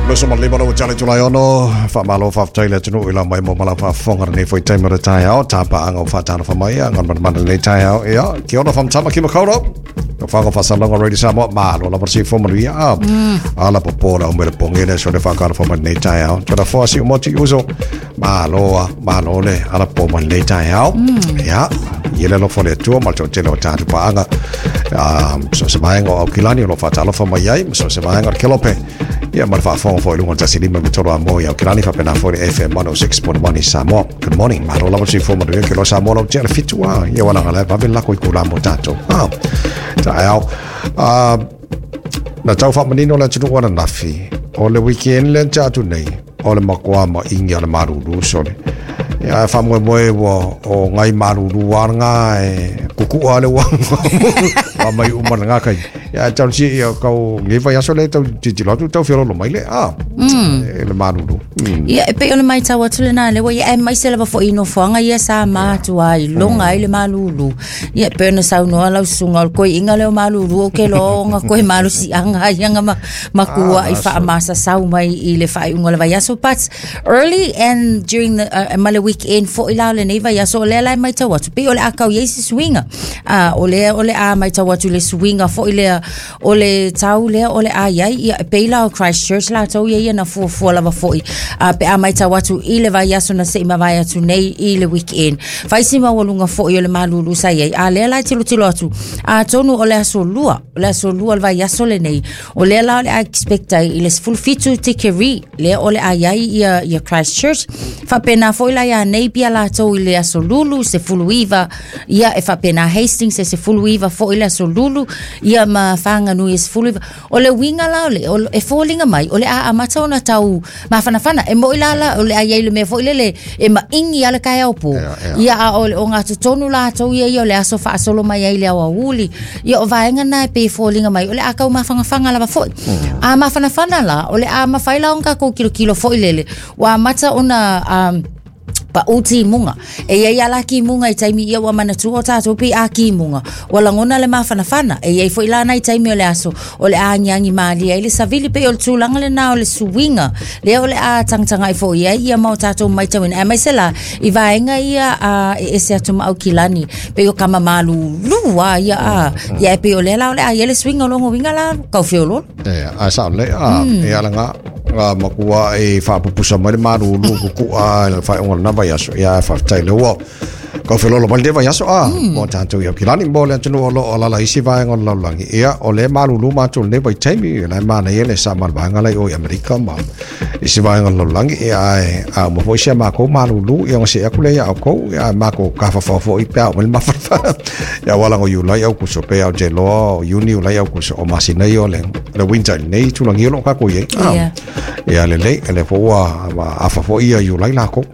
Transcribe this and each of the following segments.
25 lau tale tulai ono wha faafetai le atunuu i lau mai mo ma lau faafofoga lenei foi taimi o le taeao tāpaaga o faatalofa mai a galumalemana lenei taeao ia ke ona whamtama ki makaurau o whango whasalonga Radio Samoa malo lava se fo manuia a ala popo la umele ponge le so le whakalofa mai lenei taeao tona foa si umoti uso malo a malo le ala po mai lenei taeao ia ia le alofa o le Atua ma le toatele o tatou paaga so se vaega o Aukilani o lo o faatalofa mai ai ma so se vaega o le Kelope ia ma le faafofoga foi i luga o le 153 mo i Aukilani faapena foi le FM 106.1 i Samoa. Good morning. Malo lava soifua manuia ke loa Samoa lau tea le fitu a ia wala ngala vave lako i kula mo tātou. Ah, taeao. Ah, na tau whaamanino le atunuu ananafi o le weekend le tea atu nei o le makoa ma ingi a le malulu sole. Ia e whaamoemoe ua o ngai malulu a ngā e kukua le ua wa mai uma le ngā kai. Ia e tau si ia kau ngi vai aso le tau titilo atu tau fiololo mai le a e le malulu. Ia, e pei o le matau atu lena lea ua ia aemaise lava foi i nofoaga ia sa matua ai loga ai le malulu. Ia, e pei ona saunoa lau susuga o le koiiga lea o malulu ou ke loa ona koe malosiaga ai aga ma makua i faamasasau mai i le faaiuga o le vaiaso. But early and during the ma le weekend foi la o lenei vaiaso o lea la e matau atu pei o le a kau i ai se suiga. O lea o le a matau atu le suiga foi lea o le tau lea o le a i ai, ia, e pei la o Christchurch latou ia ia na fuafua lava foi pe a matau atu i le vaiaso na se i mavae atu nei i le weekend. Fai si maualuga foi o le malulu sa i ai, a lea la e tilotilo atu, atonu o le aso lua, o le aso lua o le vaiaso lenei, o lea la o le a expect ai i le 17 tikeri, lea o le a i ai ia, ia Christchurch. Faapena foi la ia Napier latou i le aso lulu, 19, ia e faapena Hastings e 19 foi le aso lulu, ia ma Whanganui e 19. O le uiga la o le, o, e foliga mai, o le a amata ona tau mafanafana. E moi la la, o le a i ai le mea foi lele, e maʻigi a le taeao pō. Ia a o le ogatotonu latou ia ia o le aso faasolo mai ai le aoauli. Ia o vaega na e pei e foliga mai, o le a tau mafanafana lava foi. A mafanafana la, o le a mafai la ona tatou kilokilo foi lele, ua amata ona paʻu timuga. E i ai a la timuga i taimi ia ua manatua o tatou pei a timuga. Ua lagona le mafanafana. E i ai foi la nai taimi o le aso o le a agiagi malie ai le savili pei o le tulaga lena o le suiga. Lea o le a tagatagai foi ai ia ma o tatou matauina. Aemaise la i vaega ia a, e ese atu ma Aukilani pei o kama malulu a ia a. Ia e pei o lea la o le a i ai le suiga o lona uiga la kau feoloolo. E, a sao lelei a, e ala ngā, ngā makua e whaapupusa mai le malulu kukua e le whaeonga lena vaiaso. Ia e whawhetai le ua. Kau whelolo mai le vaiaso a, mo tātou i Aukilani, mo le atunuu o lo o lala isi vaega o le lalolagi. Ia, o le malulu mātou lenei vaitaimi, e la e manaia le sa ma le vaega lai o i Amerika ma isi vaega o le lalolagi. Ia, ae, a uma foi si a mākou malulu, ia ona see atu lea ia outou, ia, mākou kafafao foi pe a oo mai le mafanafana. Ia ua lago Iulai Aukuso pe au te loa o Iuni Iulai Aukuso o masina ia o le le winter i lenei tulaga o lo o kākou i ai. Ah, Ia lelei, e le fo ua afa foi ia Iulai lākou.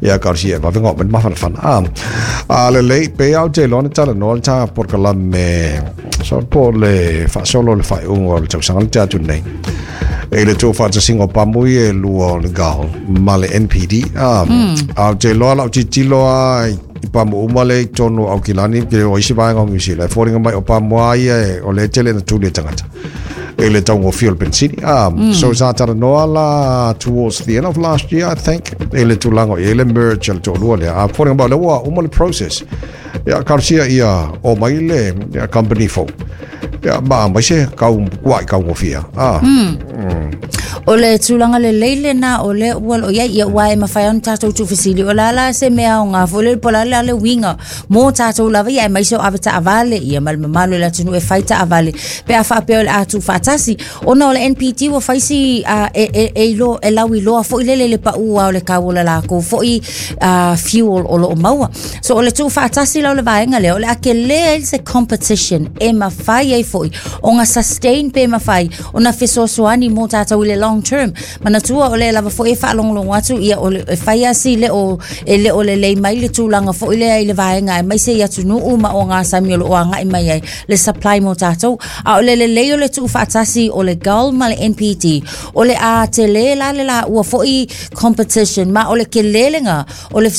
Ia ka si e vave ngā mai mafanafana. Ah, a lelei pe au te loa na talanoa le tā polokalame so po le faasolo le faaiuga o le tausaga le te atu nei. E le tuufaatasiga o pamu ia e lua o le GAL ma le NPD. Ah, au te loa lau tilotilo a i pamu uma le i totonu o Aukilani ke o isi vaega o Niu Sila. E foliga mai o pamu a ia e o le tele na tuli e tagata e le taugofie o le penisini. So sa talanoa la towards the end of last year, I think, e le tulaga o i ai le merge a le toalua lea. A foliga mai o lea ua uma le process. Ia, talosia ia o mai le ia, company fou. Ia, ma aemaise kau kuaʻi taugofie. Ah. O le tulaga lelei lena o lea ua loo i ai ia aua e mafai ona tatou tuufesili o le a la se mea aoga foi lele po o le a la le uiga mo tatou lava ia aemaise o avetaavale ia ma le mamalu o le atunuu e fai taavale pe a faapea o le a tuufaatasi ona o le NPD ua fai si e, e, e, ilo, e lauiloa foi lele le paʻu o le kau o le lakou foi fuel o loo maua. So o le tuufaatasi la o le vaega lea o le a tele ai se competition e mafai ai foi ona sustain pe mafai ona fesoasoani mo tatou i le long term. Manatua o lea lava foi e faalogologo atu ia o le, e fai lava si le o e le o lelei mai le tulaga foi lea i le vaega aemaise i atunuu ma ogasami o lo o agai mai ai le supply mo tatou. A o le lelei o le tuufaatasi o le GAL ma le NPD o le a tele la le laua foi competition ma o le tele lena o le